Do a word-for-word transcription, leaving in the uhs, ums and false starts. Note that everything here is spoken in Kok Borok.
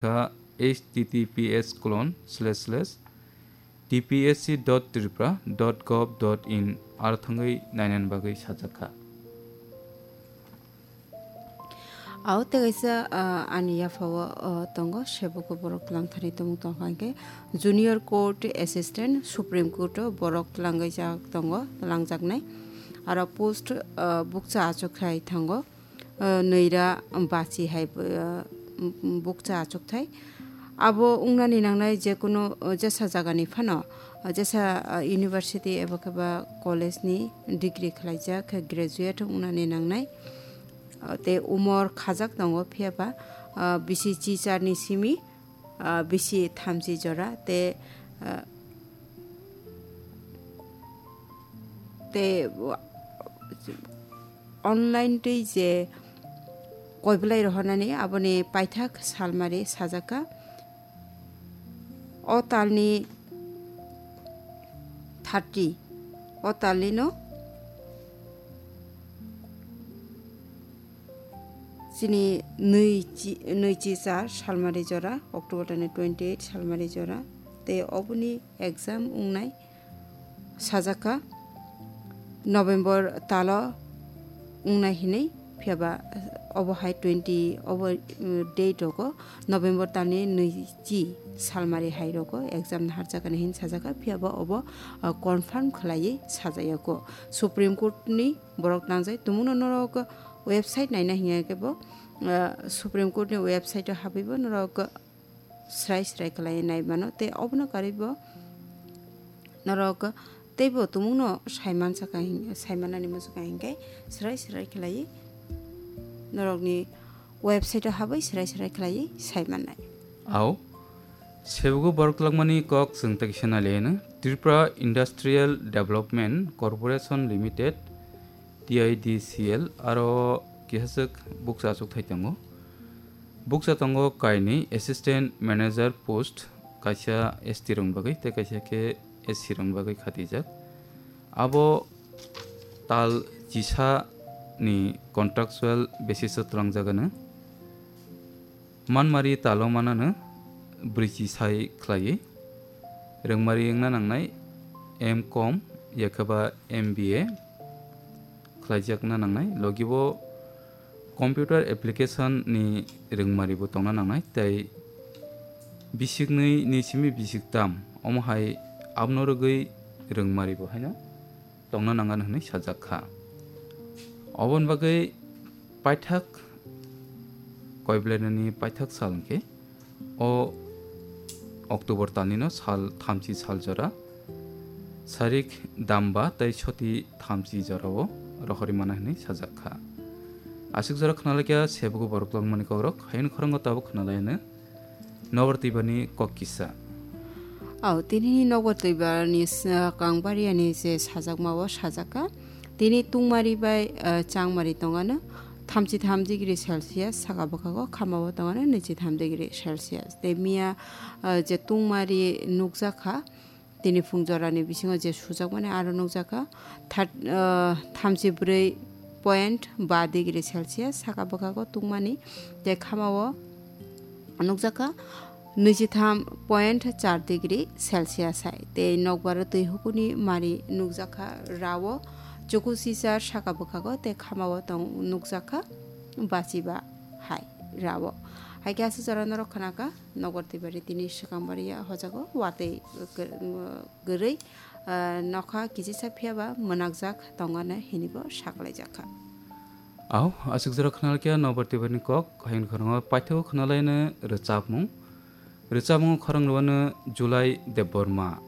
kha H T T P S colon slash slash T P S C dot tripura dot gov dot in, aro thangwi nainani bagwi sajak kha. Ao tei kaisa, ah, ani yaphao, ah, tongo, sebogo borok langthani tongmung tongkha hwnkhe Junior Court Assistant, Supreme Court o borok langwijak tongo, langjaknai. Aro post, ah, bukcha achukthai thango, ah, nwira bachi hai, ah, bukcha achukthai. Abo wngnani nangnai jekunu, ah, jesa jagani phano, ah, jesa, ah, university eba khe ba college ni degree khwlaijak khe graduate wngnani nangnai. Ah, tei umor khajak tongo, phiya ba, ah, bisi chichar ni simi, ah, bisi thamchi jora, tei, ah, tei wa-, online twi je koiblai rohornani aboni paithak salmari sajak kha. O talni thirty, o talni no chini nui chi, nui chi char salmari jora, October tani twenty eight salmari jora, tei oboni exam wngnai sajak kha November talo wngnai hinwi, phiya ba obo hai twenty obo, mm, date rogo November talni nui chi salmari hai rogo exam naharjakani hin sajak kha, phiya ba obo, ah, confirm khwlaiwi sajayago. Supreme Court ni borok tangjai tumungno norok website naina hinkhe bo, ah, Supreme Court ni website o habwi bo norok srai srai khlai nai mano, tei obono karwi bo norok teibo tumungno saiman saka hin-, saimanani muchungo hinkhe srai srai khlai norokni website o habwi srai srai khlai saimannai. Ao, sebogo borok langmani kok chwng tei kisa nai laiano, Tripura Industrial Development Corporation Limited, T I D C L, aro kisa swk bukcha achukthai tongo. Bukcha tongo kainwi assistant manager post, kaisa S T rokni bagwi tei kaisa khe S C rokni bagwi khatijak. Abo tal chisa ni contractual basis o twlangjak ano. Manmari talo manano brwichi sai khlaiwi. Rwngmari wngna nangnai M com, yakhaba M B A khlaijakna nangnai. Logibo computer application ni rwngmaribo tongna nangnai, tei bisiknwi ni simi bisiktam, omo hai abono rwgwi rwngmaribo haino tongna nangan hwnwi sajak kha. Oboni bagwi paithak koiblai nani paithak sal hwnkhe o October talnino sal thamchi sal jora, sarik damba tei soti thamchi jorao rohorwi mano hwnwi sajak kha. Aswk jora khna laikha sebogo borok tongmani kokrok, hayung khorang o tabuk khna laiano. Nobar twibani kok kisa. Ao, tini nobar twibani s-, kang bariani je sajakma o sajak kha. Tini tungmari bai, eh, changmari tongano thamchi tham degree Celsius, saka bwkhago khamao tongano nwichi tham degree Celsius. Tei miya, eh, je tungmari nukjak kha, tini phung jorani bisingo je sujakmani aro nukjak kha, third, eh, thamchi bwrwi point ba degree Celsius, saka bwkhago tungmani tei khamao nukjak kha nwichitham point char degree Celsius hai. Tei nokbar o twi hukuni mari nukjak kha rao, chuku sisar saka bwkhago tei khamao tong nukjak kha bachiba hai rao. Hai khe aswk jora norok khna kha nokbar twibari tini swkang bari ya hojago watwi kwrwi, ah, nokha kichisa phiya ba mwnakjak tongano hinibo saklaijak kha. Ao, aswk jora khna khe nobar twibani kok, hayung khorang o paithak khna laino rwchapmung. Rwchapmung khorang rwano July Debbarma.